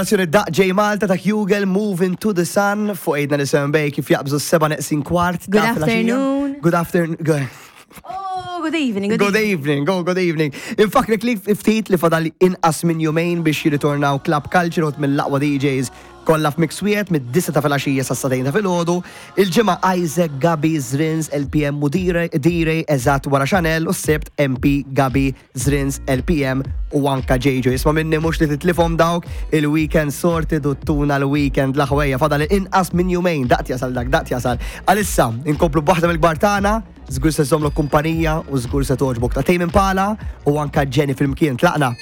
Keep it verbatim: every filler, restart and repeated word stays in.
Nazzjoni daq J Malta ta' Hugel Moving to the Sun fuq għidna li Bay kif jaqbżu s-seba neqsin kwart. Good ta' filgħaxija. Afternoon. Good afternoon. Good, Oh, good evening. Good, good evening. Go, good evening. Infakrek li ftit li fadal inqas minn jumejn biex jirritornaw Club Culture u mill-aqwa D Js kollha f'mix wieħed mid-disgħa ta' filgħaxija sa' sagħtejn ta' filgħodu. Il-Ġimgħa Isaac, Gabi, Zrins, L P M u Dire eżatt wara Chanel u s-Sibt M P, Gabi, Zrins, L P M u anka J J. Isma' minni, mhux li titlifhom dawk il-weekend sorted u tuna l-weekend l-aħwejja, fadal inqas minn jumejn, daqt jasal dak, daqt jasal. Għalissa, inkomplu b'waħda mill-kbar tagħna, żgur se żżommlok kumpanija u żgur se togħġbok, ta' Tame Impala u anka Jenny flimkien. Tlaqna.